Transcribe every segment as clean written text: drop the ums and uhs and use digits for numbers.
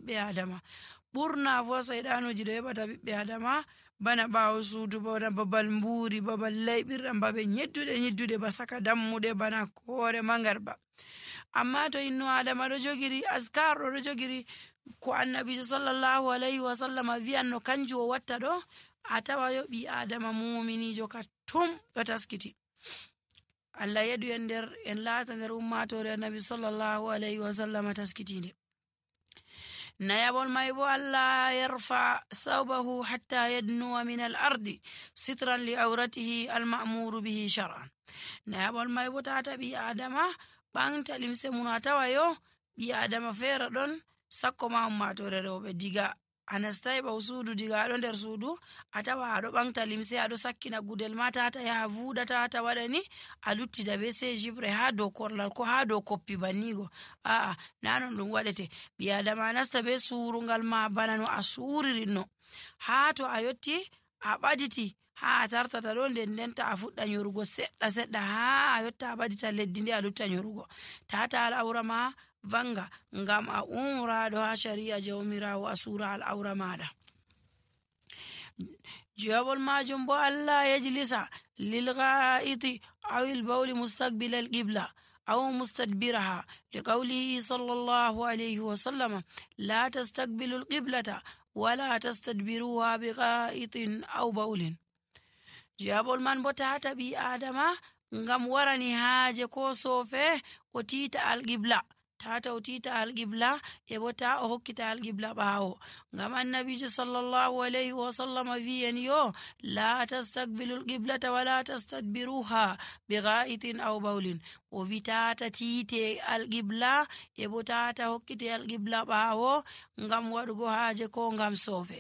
ɓiɓɓe adama. ɓurna fo seyɗanuji ɗo heɓata ɓiɓɓe adama bana ɓawo suudu, bana babal mburi, babal layɓirɗam, babe nyidduɗe ba saka dammuɗe, bana hoore mangarba. amma to inno adama ɗo jogiri askar ɗo jogiri ko annabijo sallallahu alaihi wasallama wi'an no kanjum o watta ɗo, a tawa yo ɓi adama muminijo ka tum ɗo taskiti. Allah yeɗu en nder en laata nder ummatore annabi sallallahu alaihi wasallama taskitinde. nayabol may bo Allah yarfa thawbahu hatta yadnuwa min al ardi sitran li awratihi al ma'muru bihi shar'an. nayabol may bo tata ɓi adama ɓanta limse mun, a tawa yo ɓi adama feere ɗon sakko ma ummatore rewɓe diga a nastai ɓaw suudu, diga aɗo nder suudu a tawa aɗo ɓanta limse, aɗo sakkina gudel ma tata yaha vuuɗa, tata waɗani a luttida be sei jibre ha dow korlal ko ha dow koppi bannigo. a'a na non ɗum waɗete. ɓi adama nasta be surungal ma bana no a suririnno, ha to a yotti a ɓaditi ha a tartata ɗo nden ndenta a fuɗɗa nyorugo seɗɗa seɗɗa ha a yotta a ɓadita leddi nde a lutta nyorugo. tata al'aura ma vanga ngam a umraɗo ha shari'a jawmirawo a sura al'aura maɗa. jawabol majum bo Allah yajlisa lil gha'iti aw al bawli mustaqbil al qibla aw mustadbiraha liqawlihi sallallahu alayhi wa sallam la tastaqbilu al qiblata wala tastadbiruha bi gha'itin aw bawlin. jawabol man bo tata ɓi adama ngam warani haaje ko sofe o tita al qibla, tata o tita alqibla e bo ta o hokkita alqibla ɓawo, ngam annabijo sallallahu alayhi wa sallam wi'en yo la tastaqbilu alqiblata wala tastadbiruha bi gha'itin aw bawlin. o wi tata tite alqibla e bo tata hokkite alqibla ɓawo ngam waɗugo haaje ko ngam sofe.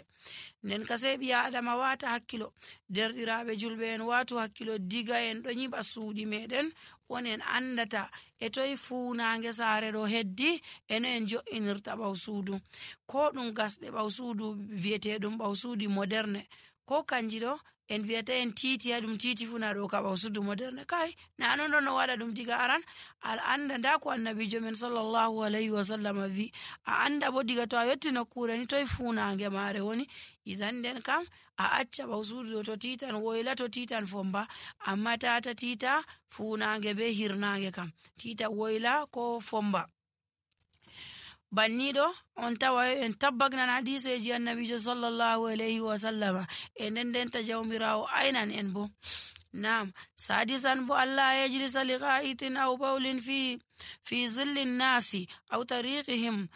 nden ka sei ɓi adama wata hakkilo, derɗiraɓe julɓe en watu hakkilo diga en ɗo nyiɓa suuɗi meɗen on en andata e toye funange saare ɗo heddi eno en jo'inirta ɓaw suudu, ko ɗum gasɗe ɓaw suudu viyeteɗum ɓaw suudu moderne, ko kanji ɗo en wiyata en titi ha ɗum titi funa ɗo ka ɓaw suudu moderne. kai na non ɗo no waɗa ɗum diga aran al anda nda ko annabijo men sallallahu alayhi wa sallam vi, a anda bo diga to a yotti nokkure ni toye funange mare woni. idan nden kam a acca ɓaw suudu to titan woyla, to titan fomba, amma tata tita funange be hirnange kam, tita woyla ko fomba. banniɗo on tawa en tabbagnan hadiseji annabijo sallallahu alayhi wa sallama e nden ndenta jawmirawo aynan en bo. nam sadisan bo Allah yajlisa li gha'itin aw bawlin fi zilli nnasi aw tariqihim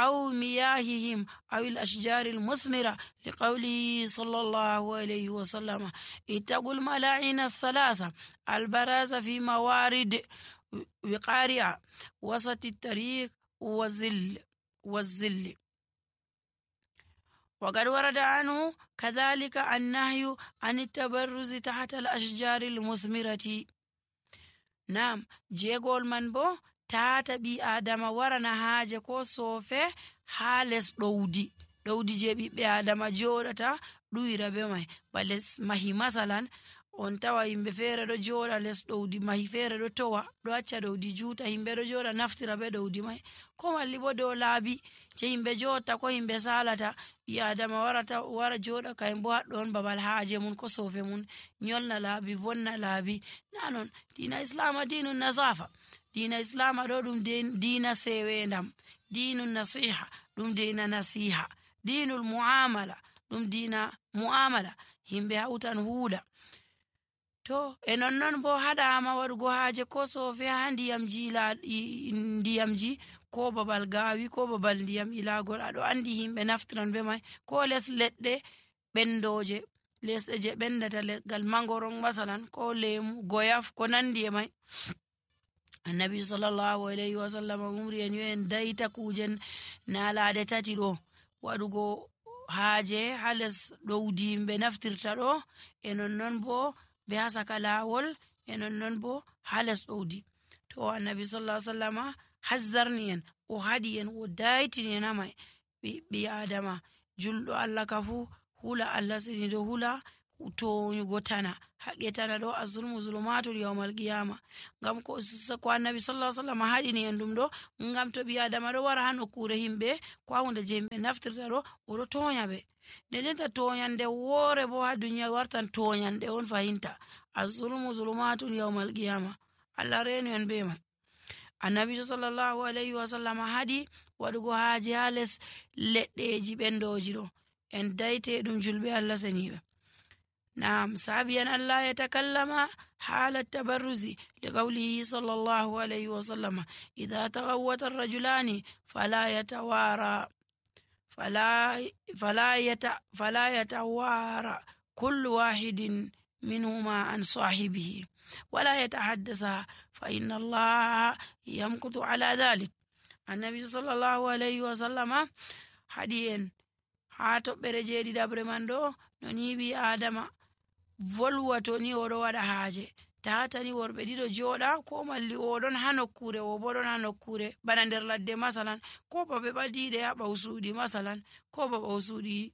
aw miyahihim aw al ashjar al musnira liqawlihi sallallahu alayhi wa sallama ittaqul mala'ina thalatha al baraza fi mawarid wiqari'a wasat at tariq والزل. وقد ورد عنه كذلك النهي عن التبرز تحت الأشجار المثمرة. نعم جيغول من بو tata ɓi adama warana haaje ko sofe ha les ɗowdi je ɓiɓɓe adama joɗata ɗuwira be mai, ba les mahi masalan on tawa yimɓe feere ɗo joɗa les ɗowdi mahi feere ɗo towa ɗo acca ɗowdi juuta, yimɓe ɗo joɗa naftira be ɗowdi mai, ko malli bo dow laabi je yimɓe joɗta ko yimɓe salata ɓi adama wara joɗa kayum bo haɗɗo on babal haaje mun ko sofe mun, nyolna laabi, vonna laabi. na non dina islama dinu nasafa, dina islama ɗo ɗum dina sewendam, dinu nasiha ɗum dina nasiha, dinul muamala ɗum dina muamala, yimɓe hautan huuɗa. to e nonnon bo haɗama waɗugo haaje ko sofe ha ndiyamji ko babal gawi ko babal ndiyam ilagol, aɗo andi himɓe naftiran be mai, ko les leɗɗe ɓendoje, lesɗe je ɓendata, leggal mangoron masalan, ko lemu, goyaf, ko nandi e mai. annabi sallallahu alayhi wa sallam umri en yo en dayta kujen nalade tati ɗo waɗugo haaje ha les ɗowdi yimɓe naftirta ɗo, e nonnon bo be ha saka lawol, e nonnon bo ha les ɗowdi. to annabi sallallahu alaihi wasallama hazzarni en, o haɗi en, o daytini en hamai ɓi adama julɗo Allah ka fu hula Allah sini do hula toñugo tana haqqe tana ɗo azulmu zulumatul yawmal qiyama. Ngam ko annabi sallallahu alaihi wasallam haɗini en ɗum ɗo ngam to ɓi adama ɗo wara ha nokkure himɓe ko ha hunde je himɓe naftirta ɗo oɗo tonya ɓe. Ndendenta toñande woore bo ha duniya wartan toñande on fahinta. Azulmu zulumatul yawmal qiyama. Allah renu en be mai. Annabi sallallahu alaihi wasallam haɗi waɗugo haaje ha les leɗɗeji ɓendoji ɗo en daite ɗum julɓe Allah seniɓe. Naam, sabiyan Allah yatakallama حال التبرز لقوله صلى الله عليه وسلم إذا تغوت الرجلان فلا يتوارى كل واحد منهما عن صاحبه ولا يتحدث فإن الله يمكث على ذلك. النبي صلى الله عليه وسلم حديث هاتو برجيدي دبر مندو نونيبي آدم volwato ni oɗo waɗa haaje tatani worɓe ɗiɗo jooɗa ko malli oɗon ha nokkure o bo ɗon ha nokkure bana nder ladde masalan ko ba ɓe ɓadiɗe ha ɓawsuɗi masalan ko ba ɓawsuɗi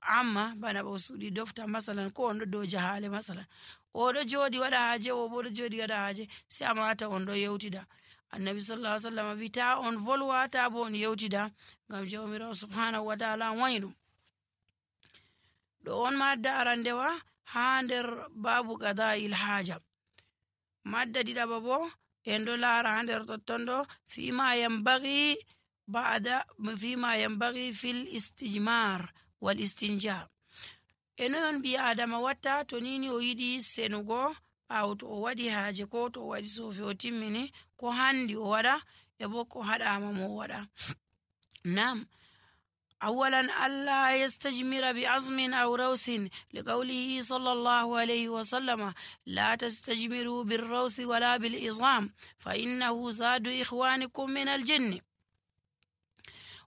amma bana ɓawsuɗi dofta masalan ko on ɗo dow jahale masalan oɗo jooɗi waɗa haaje o bo ɗo jooɗi waɗa haaje sai a mata on ɗo yewtida. Annabi sallallahu alaihi wasallam wi ta on volwa ta bo on yewtida ngam jawmirawo subhanahu wa ta'ala wañi ɗum. ɗo on madda arandewa ha nder babu qada'il haja. Madda ɗiɗaɓa bo en ɗo laara ha nder totton ɗo fima yambagi fil istijmar wal istinja. Eno on ɓi adama watta to nini o yiɗi senugo ɓawo to o waɗi haaje ko to o waɗi sofi o timmini ko handi o waɗa e bo ko haɗama mo o waɗa. Nam أولا ألا يستجمر بعظم أو روث لقوله صلى الله عليه وسلم لا تستجمروا بالروث ولا بالعظام فإنه زاد إخوانكم من الجن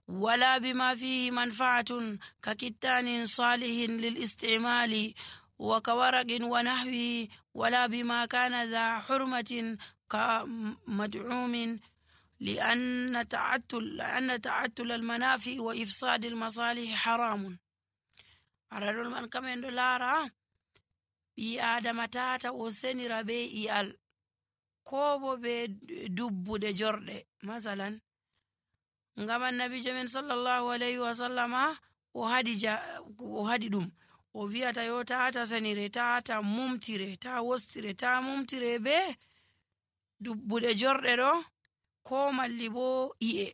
ولا بما فيه منفعة ككتان صالح للاستعمال وكورق ونحوه ولا بما كان ذا حرمة كمدعوم لأن تعتل المنافع وإفساد المصالح حرام. أرادوا من كمن دولارا بي آدم تاتا وسنر بي إيال كوبو بي دبو دي جرد مثلا ngam annabijo men sallallahu alaihi wasallama o hadi ɗum o wiyata yo tata sanire tata mumtire ta wostire ta mumtire be dubbude jorɗe ɗo ko malli bo i'e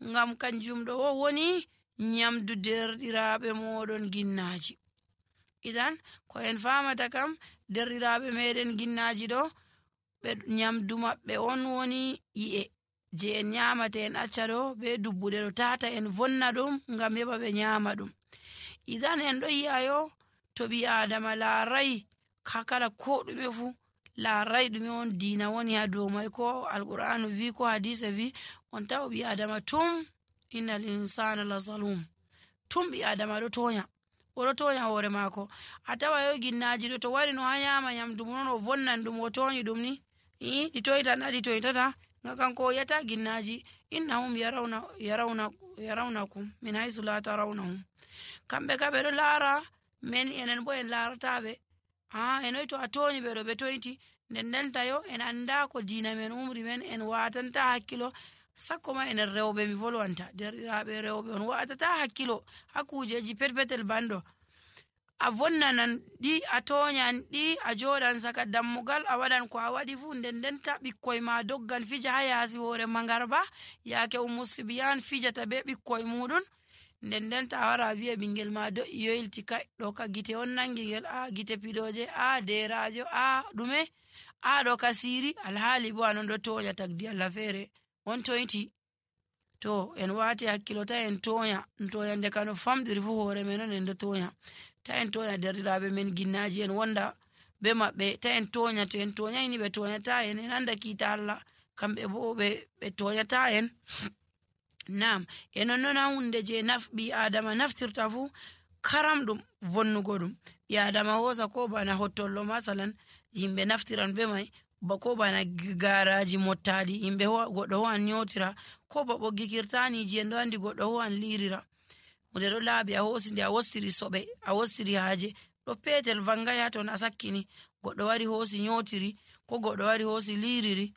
ngam kanjum ɗo woni nyamdu derɗiraɓe moɗon ginnaji. Idan ko en famata kam derɗiraɓe meɗen ginnaji ɗo ɓe nyamdu maɓɓe on woni i'e je en nyamata en acca ɗo be dubbude ɗo tata en vonna ɗum ngam heɓa ɓe nyama ɗum. Idan en ɗo yi'ayo to ɓi adama laarai kala ko ɗume fu laarai ɗume on diina woni ha dow mai ko alqur'anu vi ko hadise vi on tawa ɓi adama tum innal insana la zalum tum ɓi adama ɗo tonya oɗo tonya hoore mako. A tawa yo ginnaji ɗo to wari no ha nyama nyamdu non o vonnan ɗum o tonyi ɗum ni ɗi toytan ɗi toytata ngam kanko o yata ginnaji innahum yarawnakum min haysu la tarawnahum. Kamɓe ka ɓe ɗo laara men enen bo en laarataɓe enoy to a toñi ɓe ɗo ɓe toyti ndendenta yo en anda ko diina men umri men en watanta hakkilo sakko ma enen rewɓe mi volwanta derɗiraɓe rewɓe on watata hakkilo ha kujeji perpetel banɗo a vonnanan ɗi a toñan ɗi a joɗan saka dammugal a waɗan ko a waɗi fu ndendenta ɓikkoy ma doggan fija ha yaasi hoore mangarba yaake umusibiyan fijata be ɓikkoy muɗum ndendenta a wara wiya ɓingel ma do yoylti kai ɗo ka gite on nangi ngel gite piɗoje derajo ɗume ɗo ka siri alhaali bo anon ɗo toña tagdi Allah feere on toyti. To en wati hakkilo ta en toña nde kano famɗiri fu hoore men on en ɗo toña ta en toña derɗiraɓe men ginnaji en wonda be maɓɓe ta en toña to en toñayni ɓe toñata en en anda kiita Allah kamɓe bo ɓe toñata en. Nam enon noon hunde je ɓi adama naftirta fu karam ɗum vonnugo ɗum ɓi adama hosa ko bana hottollo masalan yimɓe naftiran be mai ba ko bana garaji mottaɗi yimɓe goɗɗo ho'an nyotira ko ba ɓoggi kirtaniji en ɗo andi goɗɗo ho'an lirira hunde ɗo laaɓi a hosi nde a wostiri soɓe a wostiri haaje goɗɗo petel vangaya ton a sakkini, goɗɗo wari hoosi nyotiri, ko goɗɗo wari hoosi liiriri,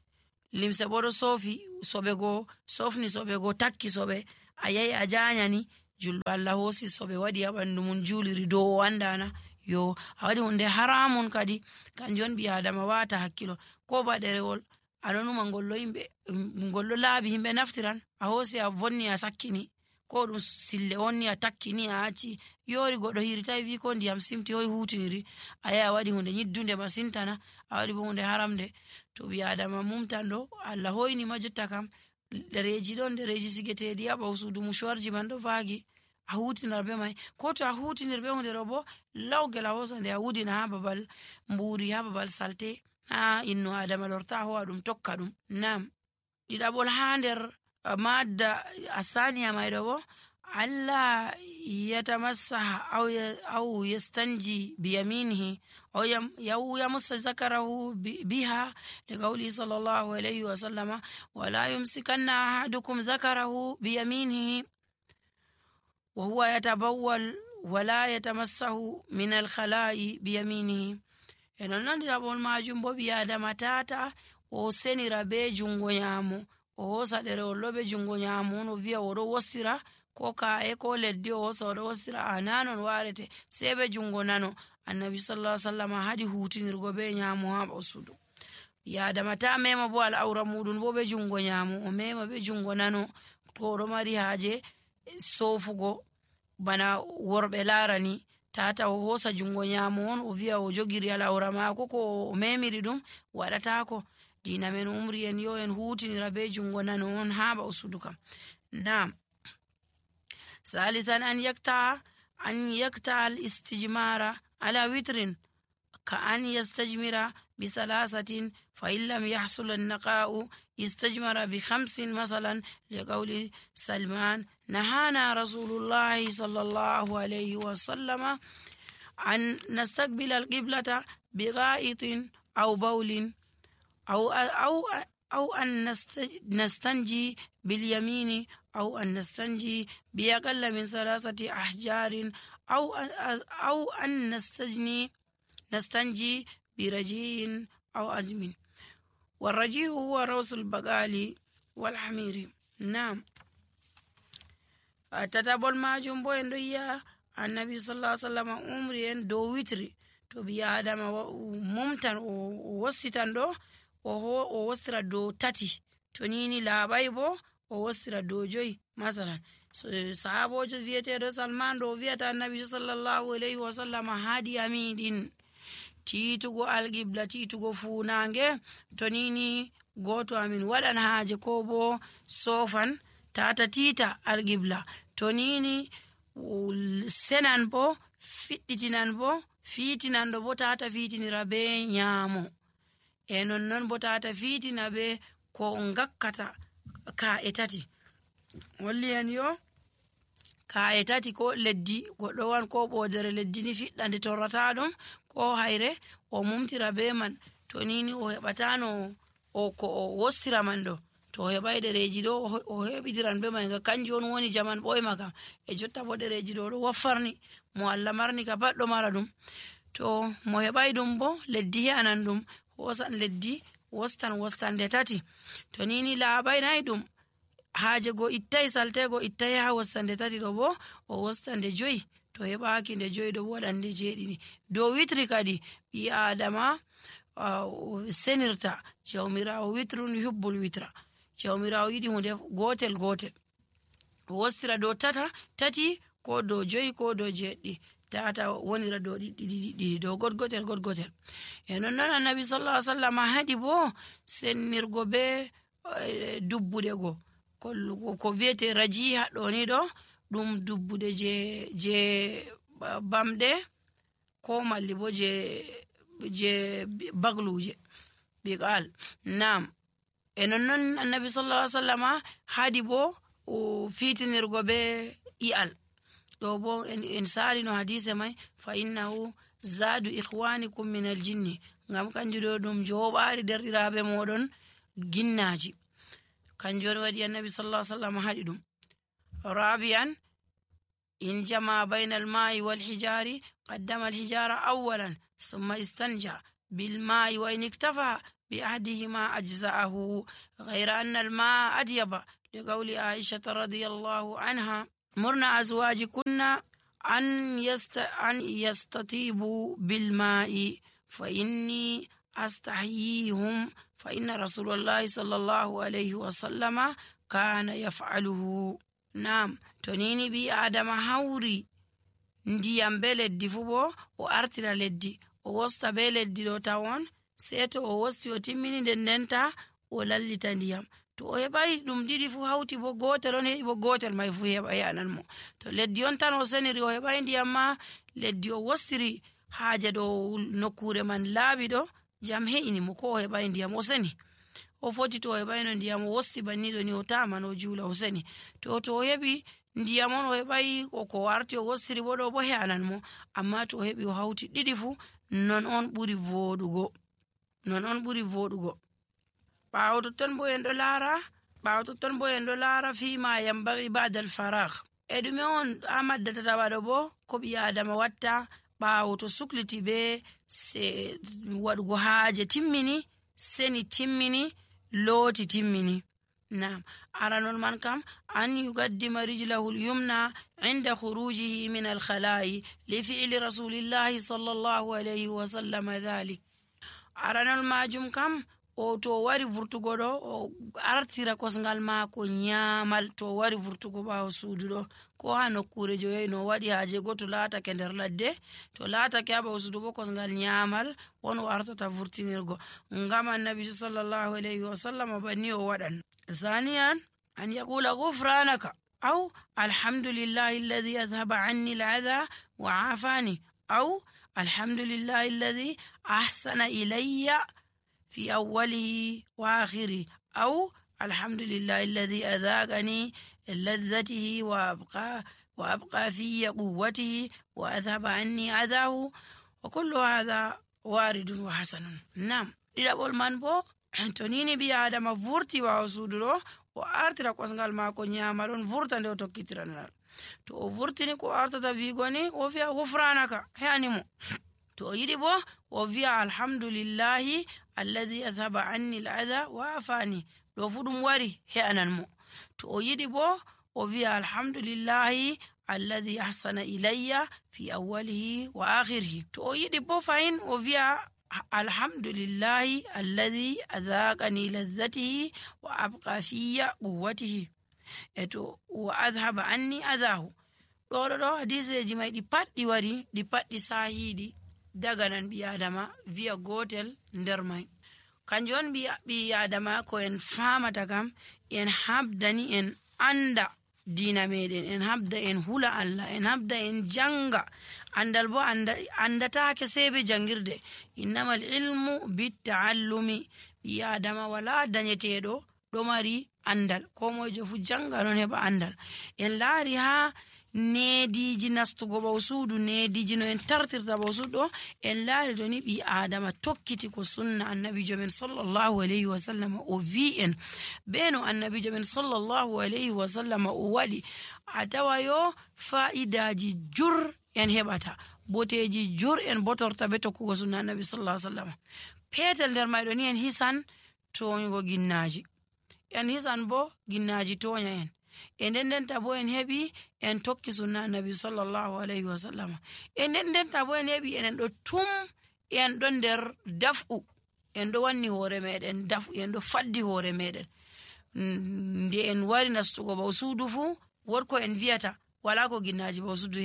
limse bo ɗo sofi soɓe go sofni soɓe go takki soɓe, a yahi a janyani, julɗo Allah hoosi soɓe waɗi ha ɓandu mum juliri dow o andana yo a waɗi hunde haramun kadi. kanjon ɓi adama wata hakkilo, ko ba ɗerewol anonuma ngollo laabi himɓe naftiran, a hoosi a vonni a sakkini, ko ɗum sille onni a takkini a acci, yori goɗɗo hiritai vi ko ndiyam simti hoy hutiniri, a yahi a waɗi hunde nyiddunde masintana, a waɗi bo hunde haramde. to ɓi adama mumtan ɗo Allah hoyni ma jotta kam ɗereji ɗon, ɗereji sigeteɗi ha ɓawo suudu mushuwarji man ɗo vaagi, a hutinar be mai, ko to a hutinir be hunde ɗo bo lawgel a hosa nde a wudina ha babal mburi, ha babal salte, ha inno adama lorta ho'a ɗum tokka ɗum. Nam ɗiɗaɓol ha nder madda asaniya mai ɗo bo Allah yatamassaha aw yastanji biyaminihi aw yamussa zakarahu biha liqawli sallallahu alayhi wa sallama wala yumsikanna ahadukum zakarahu biyaminihi wa huwa yatabawwal wala yatamassahu min alkhala'i biyaminihi. e non ɗiɗaɓol majum bo ɓi adama tata o senira be jungo nyamo, o hosa ɗerewol ɗo be jungo nyamo on o viya oɗo wostira, ko ka'e ko leddi o hosa oɗo wostira, a nanon warete sei be jungo nano. annabi sallallahu alaihi wasallam haɗi hutinirgo be nyamo ha ɓawo suudu. ɓi adama ta mema bo al'aura muɗum bo be jungo nyamo, o mema be jungo nano to oɗo mari haaje sofugo bana worɓe larani, tata o hosa jungo nyamo on o viya o jogiri al'aura mako ko o memiri ɗum waɗatako. dina men umri en yo en hutinira be jungo nano on ha ɓawo suudu kam. Nam salisan an yakta al istijmara ala witrin ka an yastajmira bi salasatin fa in lam yahsul an-naqa'u istajmara bi 5 masalan liqawli Salman nahana rasulullahi sallallahu alayhi wa sallama an nastaqbila al-qiblata bi gha'itin aw bawlin أو أن نستنجي باليمين أو أن نستنجي بأقل من 3 أحجار أو أن نستنجي برجيء أو أزم. والرجيء هو روس البقال والحمير. نعم تتابول ما جنبو يا النبي صلى الله عليه وسلم عمري دو وتري to ɓi adama mumtan o wossitan ɗo o wostira dow 3, to nini laaɓai bo o wostira dow 5 masalan. sahabojo viyeteɗo Salman ɗo o viyata annabi sallallahu alayhi wa sallam haadi amiɗin titugo alqibla, titugo funange, to nini goto amin waɗan haaje ko bo sofan tata tita alqibla, to nini senan bo fiɗɗitinan bo fitinan ɗo bo tata fitinira be nyamo, e nonnon bo tata fitina be ko ngakkata ka'e 3. holli en yo ka'e 3 ko leddi goɗɗo wan ko ɓodere leddi ni fiɗɗa nde torrata ɗum ko hayre o mumtira be man, to nini o heɓatano ko o wostira man ɗo, to o heɓai ɗereji ɗo o heɓitiran be man, ga kanjum on woni jaman ɓoyma kam. e jotta bo ɗereji ɗo ɗo waffarni mo Allah marni ka pat ɗo mara ɗum, to mo heɓai ɗum bo leddi he'anan ɗum, hosan leddi wostan nde 3, to nini laaɓai nayi ɗum haaje go ittai saltego ittai ha wostande 3 ɗo bo o wostande 5, to heɓaki nde 5 ɗo bo waɗande 7. dow witri kadi ɓi adama senirta jawmirawo witrun yuhibbul witra, jawmirawo yiɗi hunde gotel o wostira dow 3 ko dow 5 ko dow 7, tata wonira dow ɗiɗi dow gotel. e nonnon annabi sallallahu alaihi wasallam haɗi bo sennirgo be dubbude go ko viyete rajiha ɗo ni ɗo ɗum dubbude je bamɗe ko malli bo je bagluje biqal. Nam e nonnon annabi sallallahu alaihi wasallam haɗi bo fitinirgo be i'al ɗo bo en sali no hadise mai fa innahu zadu ikhwanikum min aljinni, ngam kanjum ɗo ɗum joɓari derɗiraɓe moɗon ginnaji, kanjum waɗi annabi sallallahu alaihi wasallam haɗi ɗum. rabi'an إن جمع بين الماء والحجار قدم الحجار أولا ثم استنجى بالماء، وإن اكتفى بأحدهما أجزأه، غير أن الماء أطيب، لقول عائشة رضي الله عنها: مرنا أزواجكن أن يستطيبوا بالماء فإني أستحييهم، فإن رسول الله صلى الله عليه وسلم كان يفعله. نعم، tonini bi adama hauri ndiyam be leddi fu bo o artira leddi o wosta be leddi do tawon, sei to o wosti o timmini ndenta o lallita ndiyam. to o heɓai ɗum ɗiɗi fu hauti bo gotel on heɓi bo gotel mai fu heɓa yanan mo. to leddi on tan o seniri o heɓai ndiyam ma leddi o wostiri haaje ɗo nokkure man laaɓi ɗo jam he'ini mo, ko o heɓai ndiyam o seni o foti to o heɓaino ndiyam o wosti banniɗo ni o taman o juula o seni. to o heɓi ndiyam on o heɓai ko warti o wostiri bo ɗo bo he'anan mo, amma to o heɓi o hauti ɗiɗi fu non on ɓuri voɗugo. ɓawo totton bo en ɗo laara fima yambagi ba'dal faragh, e ɗume on ha maddata waɗo bo ko ɓi adama watta ɓawo to sukliti be waɗugo haaje timmini, seni timmini, looti timmini. Naam, aranon man kam an yugaddima rijlahu al-yumna inda khurujihi min al-khala'i li fi'li rasulillahi sallallahu alayhi wa sallam dhalik. aranon majum kam o to wari vurtugo ɗo o artira kosngal maako nyamal, to wari vurtugo ɓawo suudu ɗo ko ha nokkure joyi no waɗi haaje go to laatake nder ladde, to laatake ha ɓawo suudu bo kosngal nyamal won o artata vurtinirgo, ngam annabi sallallahu alayhi wa sallam banni o waɗan. ثانيا أن يقول غفرانك أو الحمد لله الذي أذهب عني الأذى وعافاني، أو الحمد لله الذي أحسن إلي في أوله وآخره، أو الحمد لله الذي أذاقني لذته وأبقى في قوته وأذهب عني أذاه، وكل هذا وارد وحسن. نعم، إذا بول من بو tonini bi adama vurti wawo suudu ɗo o artira kosngal maako nyamal on vurta nde o tokkitiranal. to o vurtini ko artata wigo ni o wi'a gufranaka, he'animo. to o yiɗi bo o wi'a alhamdulillahi alladhi adhaba anni al-adha wa afani, ɗo fu ɗum wari he'anan mo. to o yiɗi bo o wi'a alhamdulillahi alladhi ahsana ilayya fi awwalihi wa akhirihi. to o yiɗi bo fayin o wi'a alhamdulillahi alladhi adhaqani lazzatihi wa abqa fiya quwwatihi, eto wa adhhaba anni adahu. ɗo hadiseji mai ɗi pat ɗi wari ɗi pat ɗi sahiɗi daga nan ɓi adama wi'a gotel nder mai. kanjum on ɓi adama ko en famata kam en habdani en anda dina meɗen, en habda en hula Allah, en habda en janga. andal bo andatake sei be jangirde. innamal ilmu bittaallumi, ɓi adama wala dañeteɗo ɗo mari andal, ko mojo fu janga non heɓa andal. en laari ha nediji nastugo ɓaw suudu, nediji no en tartirta ɓaw suudu ɗo, en laari to ni ɓi adama tokkiti ko sunna annabijo men sallallahu alayhi wa sallam o vi en, be no annabijo men sallallahu alayhi wa sallam o waɗi, a tawa yo fa'idaji jur en heɓata, boteji jur en botorta be tokkugo sunna annabi sallallahu alayhi wa sallam. petel nder mayɗo ni en hisan toñugo ginnaji, en hisan bo ginnaji toña en, e ndendenta bo en heɓi en tokki sunna annabi sallallahu alayhi wa sallam. e ndendenta bo en heɓi enen ɗo tum en ɗon nder daf'u, en ɗo wanni hoore meɗen daf'u, en ɗo faddi hoore meɗen. nde en wari nastugo ɓaw suudu fu wotko en wiyata wala ko ginnaji ɓaw suudu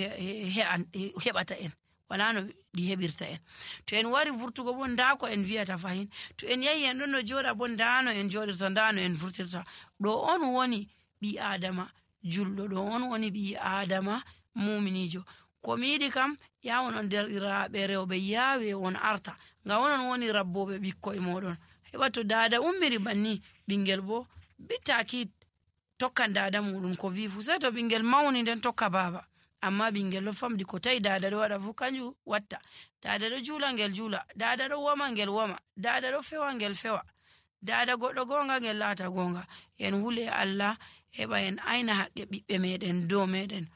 heɓata en, wala no ɗi heɓirta en. to en wari vurtugo bo nda ko en wiyata fahin, to en yahi en ɗon no joɗa bo ndano en joɗirta, ndano en vurtirta. ɗo on woni ɓi adama julɗo, ɗo on woni ɓi adama muminijo. ko mi yiɗi kam yawon on derɗiraɓe rewɓe yawe on arta, ngam onon woni rabboɓe ɓikkoye moɗon. heɓa to dada ummiri banni, ɓingel bo bittaki tokkan dada muɗum ko wi fu, sei to ɓingel mawni nden tokka baba. amma ɓingel ɗo famdi ko tawi dada ɗo waɗa fu kanjum watta. dada ɗo juula ngel juula, dada ɗo woma ngel woma, dada ɗo fewa ngel fewa, dada goɗɗo gonga ngel laata gonga. en hule Allah heɓa en aina haqqe ɓiɓɓe meɗen dow meɗen.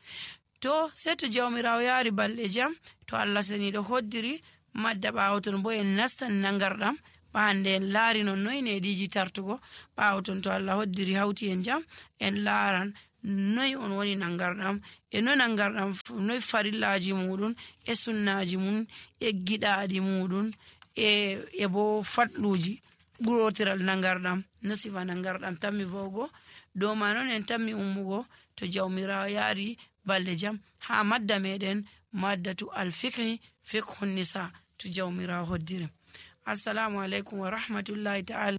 to sei to jawmirawo yaari balɗe jam to Allah seniɗo hoddiri madda ɓawo ton bo en nastan nangarɗam ɓande en laari non noy neɗiji tartugo ɓawo ton to Allah hoddiri hawti en jam en laaran noy on woni nangarɗam e no nangarɗam noy farillaji muɗum e sunnaji mum e giɗaɗi muɗum e bo fatluji ɓurotiral nangarɗam no sifa nangarɗam tammi vowgo dow ma non en tammi ummugo to jawmirawo yaari balɗe jam ha madda meɗen maddatu alfiqhi fiqhu nisa to jawmirawo hoddiri. Assalamu alaikum wa rahmatullahi ta'ala.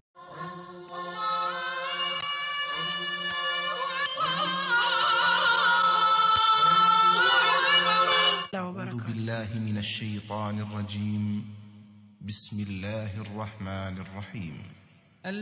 أعوذ بالله من الشيطان الرجيم. بسم الله الرحمن الرحيم.